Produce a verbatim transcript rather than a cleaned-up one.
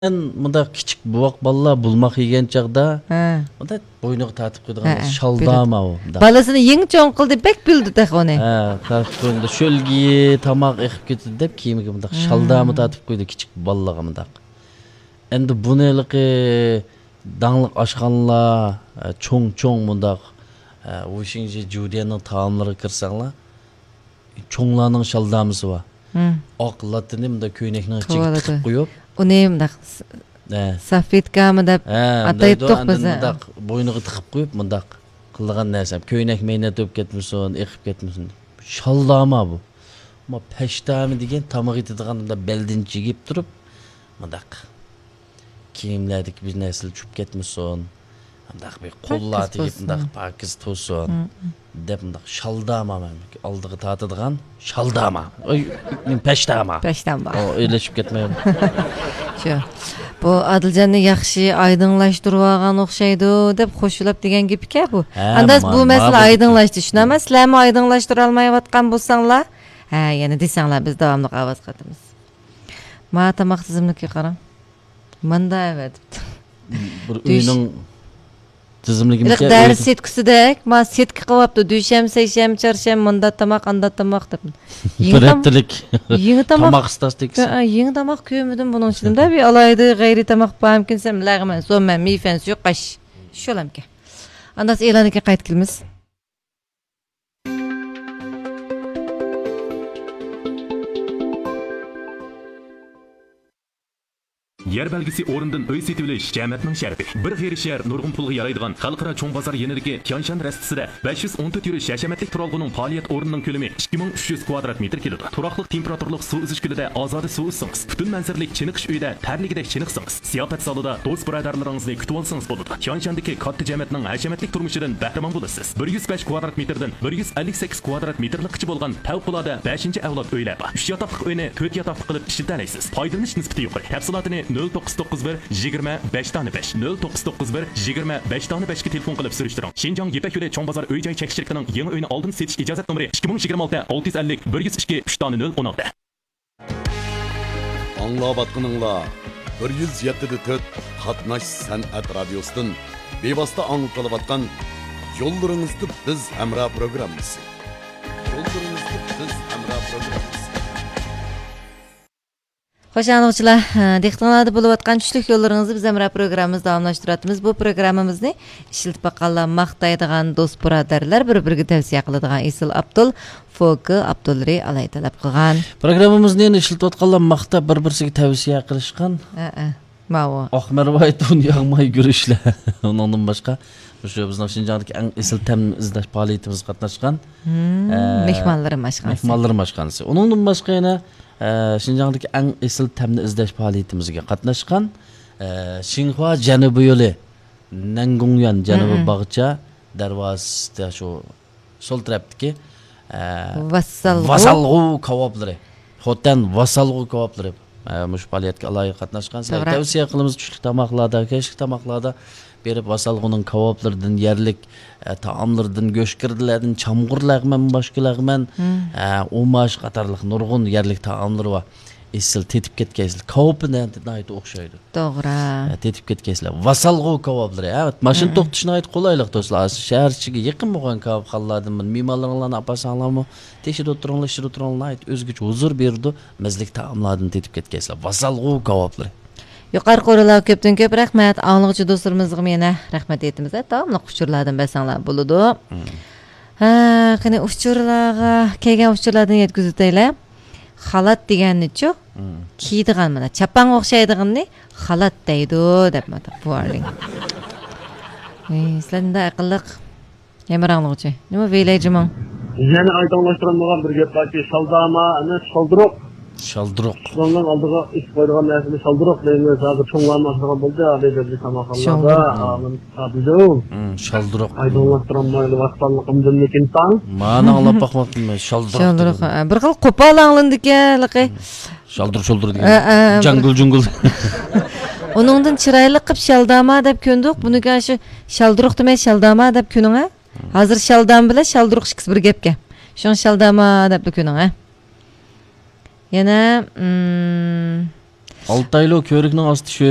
مۇنداق كىچىك بوۋاق بالىلار بولماق يېگەن چاغدا، ھە، مۇنداق بوينىغا تارتىپ قويىدىغان، ھە، شالداما ئۇ، مۇنداق. بالىسىنى يېڭى چوڭ قىلدى، بەك بىلدى تېخى ئۇنى. ھە، تارتىپ قويۇمدا شۆلگىيى، تاماق ئېقىپ كېتىدۇ دەپ كىيىمىگە مۇنداق، ھە، شالداما تارتىپ قويىدۇ كىچىك بالىلارغا مۇنداق. ئەمدى بۇنى ھېلىقى داڭلىق ئاشخانىلار، ھە، چوڭ چوڭ مۇنداق، ھە، ۋۇشىڭجې جۇديەننىڭ تائاملىرىغا كىرسەڭلار، چوڭلارنىڭ شالدامىسى بار. ھىم. ئاق لاتتىنى مۇنداق كۆينەكنىڭ ئىچىگە تىقىپ قويۇپ، ئۇنى مۇنداق س-، ھە، سافېتكامۇ دەپ، ھە، ئاتايتتۇق بىز، ھە. مۇنداق بوينىغا تىقىپ قويۇپ، مۇنداق قىلىدىغان نەرسەم. كۆينەك مەينەت بولۇپ كەتمىسۇن، ئېقىپ كەتمىسۇن. شالداما بۇ. ئەمما پەشتامى دېگەن تاماق يېتىدىغان، مۇنداق بەلدىن چىگىپ تۇرۇپ، مۇنداق كىيىملەردىكى بىر نەرسىلەر چۈشۈپ كەتمىسۇن، مۇنداق بىر قوللار تېگىپ، مۇنداق پاكىز تۇرسۇن، ھىم، دەپ، مۇنداق شالداما، مەن ئالدىغا تارتىدىغان شالداما. ئۆي، پەشتاما. پەشتاما. ئو، ئۆيلەشىپ كەتمەي. شۇ. بۇ ئادىلجاننى ياخشى ئايدىڭلاشتۇرۇۋالغان ئوخشايدۇ، دەپ خۇشلاپ دېگەن گېپىكەن بۇ. ھە، ئەنداز ما-، بۇ مەسىلە ماۋۇ ئايدىڭلاشتى. شۇنداقمۇ؟ سىلەرمۇ ئايدىڭلاشتۇرالمايۋاتقان بولساڭلار، ھە، يەنە دېسەڭلار، بىز داۋاملىق ئاۋاز قاتىمىز. ما تاماق تىزىملىكىگە قاراڭ. ماندا ئەۋەتىپتۇ. بىر دۈش- ئۆينىڭ تىزىملىكىمىكى دەرس سېتكىسىدەك، ما سېتكا قىلىۋاپتۇ. دۈشەنبە، سەيشەنبە، چارشەنبە ماندا تاماق، ئاندا تاماق دەپ. يېڭى بىر تام-، ھەپتىلىك يېڭى تاماق، تاماق ستاتىكىسى. ھە، يېڭى تاماق كۆرمىدىم بۇنىڭ ئىچىدە. بىر ئالاھىدە غەيرىي تاماق بارمىكىن دېسەم، لەغمەن، سومەن، مىفەن، سۇيۇقئاش. شۇلامكەن. ئانداس ئېلان كېيىن قايتا كېلىمىز. يەر بەلگىسى ئورنىدىن ئۆي سېتىۋېلىش جەمەتنىڭ شەرىپى. بىر غېرىب يەر نۇرغۇن پۇلغا يارايدىغان خەلقئارا چوڭ بازار يېنىدىكى تيانشان رەستىسىدە بەش يۈز ئون تۆت يۈرۈش ھەشەمەتلىك تۇرالغۇنىڭ پائالىيەت ئورنىنىڭ كۆلىمى ئىككى مىڭ ئۈچ يۈز كۋادرات مېتىر كېلىدۇ. تۇراقلىق تېمپېراتۇرىلىق سۇ ئۈزۈش كۆلىدە ئازادە سۇ ئۈزسىڭىز، پۈتۈن مەنزىرىلىك چېنىقىش ئۆيىدە تەرلىگۈدەك چېنىقسىڭىز، زىياپەت زالىدا دوست بۇرادەرلىرىڭىزنى كۈتۈۋالسىڭىز بولىدۇ. تيانشاندىكى كاتتا جەمەتنىڭ ھەشەمەتلىك تۇرمۇشىدىن بەھرىمەن بولىسىز. بىر يۈز بەش كۋادرات مېتىردىن بىر يۈز ئەللىك سەككىز كۋادرات مېتىرلىققىچە بولغان پەۋقۇلئاددە بەشىنچى ئەۋلاد ئۆيلەر بار. ئۈچ ياتاقلىق ئۆينى تۆت ياتاقلىق قىلىپ ئىشلىتەلەيسىز. پايدىلىنىش نىسبىتى يۇقىرى. تەپسىلاتىنى نۆل توققۇز توققۇز بىر يىگىرمە بەش دانە بەش، نۆل توققۇز توققۇز بىر يىگىرمە بەش دانە بەشكە تېلېفون قىلىپ سۈرۈشتۈرۈڭ. شىنجاڭ يىپەك يولى چوڭ بازار ئۆي جاي چەكلىك شىركىتىنىڭ يېڭى ئۆينى ئالدىن سېتىش ئىجازەت نومۇرى ئىككى مىڭ يىگىرمە ئالتە ئالتە يۈز ئەللىك بىر يۈز ئىككى ئۈچ دانە نۆل ئون ئالتە. ئاڭلاۋاتقىنىڭلار بىر يۈز يەتتە دە تۆت قاتناش سەنئەت رادىيوسىدىن بىۋاسىتە ئاڭلىتىلىۋاتقان يوللىرىڭىزدا بىز ھەمراھ پروگراممىسى. يوللىرىڭىزدا بىز ھەمراھ پروگراممىسى. خوش ئاڭلىغۇچىلار، دىققىتىڭلاردا بولۇۋاتقان چۈشلۈك يوللىرىڭىزدا بىز ھەمراھ پروگراممىمىزنى داۋاملاشتۇرۇۋاتىمىز. بۇ پروگراممىمىزنى ئىشلىتىپ باققانلار ماختايدىغان، دوست بۇرادەرلەر بىر-بىرىگە تەۋسىيە قىلىدىغان ئېسىل ئابدۇل فوكى ئابدۇلرى ئالاي تەلەپ قىلغان. پروگراممىمىزنى يەنە ئىشلىتىۋاتقانلار ماختا بىر-بىرسىگە تەۋسىيە قىلىشقان. ھەئە، ماۋۇ. ئاق مەرۋايىت ئۇن ياغماي گۈرۈچلەر. ئۇنىڭدىن باشقا، مۇشۇ بىزنىڭ شىنجاڭدىكى ئەڭ ئېسىل تەمنى ئىزدەش پائالىيىتىمىزگە قاتناشقان. ھىم، ئە، مېھمانلىرىم ئاشخانىسى. مېھمانلىرىم ئاشخانىسى. ئۇنىڭدىن باشقا يەنە، ئە، شىنجاڭدىكى ئەڭ ئېسىل تەمنى ئىزدەش پائالىيىتىمىزگە قاتناشقان. ئە، شىنخۇا جەنۇبىي يولى، نەنگۇڭيۈەن جەنۇبىي، ھىم، باغچە، دەرۋازىسىدا شۇ سول تەرەپتىكى، ئە، ۋاسالغۇ. ۋاسالغۇ كاۋاپلىرى. خوتەن ۋاسالغۇ كاۋاپلىرى، ئە، مۇشۇ پائالىيەتكە ئالاھىدە قاتناشقان. سىلەرگە توغرا. تەۋسىيە قىلىمىز، چۈشلۈك تاماقلاردا، كەچلىك تاماقلاردا بېرىپ، ۋاسالغۇنىڭ كاۋاپلىرىدىن، يەرلىك، ئە، تائاملىرىدىن، گۆشگىردىلەردىن، چامغۇر لەغمەن، باشقا لەغمەن، ھىم، ئە، ئۇماش قاتارلىق نۇرغۇن يەرلىك تائاملىرى بار. ئېسىل، تېتىپ كەتكەيسىلەر. كاۋىپى نە-، ناھايىتى ئوخشايدۇ. توغرا. ھە، تېتىپ كەتكەيسىلەر. ۋاسالغۇ كاۋاپلىرى، ھە، ماشىنا، ھە، توختىتىش ناھايىتى قولايلىق، دوستلار. شەھەر ئىچىگە يېقىن بولغان كاۋاپخانىلاردىن مېھمانلىرىڭلارنى ئاپارساڭلارمۇ، تېشىدا ئولتۇرۇڭلار، ئىچىدە ئولتۇرۇڭلار، ناھايىتى ئۆزگىچە ھۇزۇر بېرىدۇ. مەززىلىك تائاملاردىن تېتىپ كەتكەيسىلەر. ۋاسالغۇ كاۋاپلىرى. يۇقىرىقى ئورۇنلارغا كۆپتىن كۆپ رەھمەت. ئاڭلىغۇچى دوستلىرىمىزغىمۇ يەنە رەھمەت ئېيتىمىز. داۋاملىق ئۇچۇرلاردىن بەرسەڭلار بولىدۇ. مم. ھە، قېنى ئۇچۇرلارغا، كەلگەن ئۇچۇرلاردىن يەتكۈزۈۋېتەيلى. خالات دېگەننىچۇ؟ مم. كىيىدىغان مانا چاپانغا ئوخشايدىغىنىنى خالات دەيدۇ دەپ مانا بۇ ئارىلىق. ئەي، سىلەر مۇنداق ئەقىللىق. يەنە بىر ئاڭلىغۇچى. نېمە ۋېيلەي جىمىڭ؟ يەنە ئايدىڭلاشتۇرالمىغان بىر گەپ باركى، شالداما ئەمەس، شالدۇرۇق. شالدۇرۇق. شۇنىڭ ئالدىغا ئېسىپ قويىدىغان نەرسىنى شالدۇرۇق دەيمىز. ھازىر چوڭلارمۇ ئاشىدىغان بولدى، ھازىر بەزى تاماقخانىلاردا. شالدۇرۇق. ھازىر شالدۇرۇق. مم، شالدۇرۇق. ئايدىڭلاشتۇرالمايدۇ، ۋاسىتانلىقىمدىن لېكىن تاڭ. مانا ئاڭلاپ باقماپتىمەن، شالدۇرۇق. شالدۇرۇق، دېگەن. ھە، بىر خىل قوپال ئاڭلىنىدىكەن، ھېلىقى. مم. شالدۇر شۇلدۇر دېگەن. ھە، ھە، بىر جاڭگۇل جۇڭگۇل. ئۇنىڭدىن چىرايلىق قىلىپ شالداما دەپ كۆندۇق. بۇنىڭكى شۇ شالدۇرۇق دېمەي، شالداما دەپ كۆنۈڭ، ھە. ھازىر شالدام بىلەن شالدۇرۇق ئىككىسى بىر گەپكەن. شۇڭا شالداما دەپلا كۆنۈڭ، ھە. يەنە، مم، ئالتايلۇ كۆۋرۈكنىڭ ئاستى شۆز.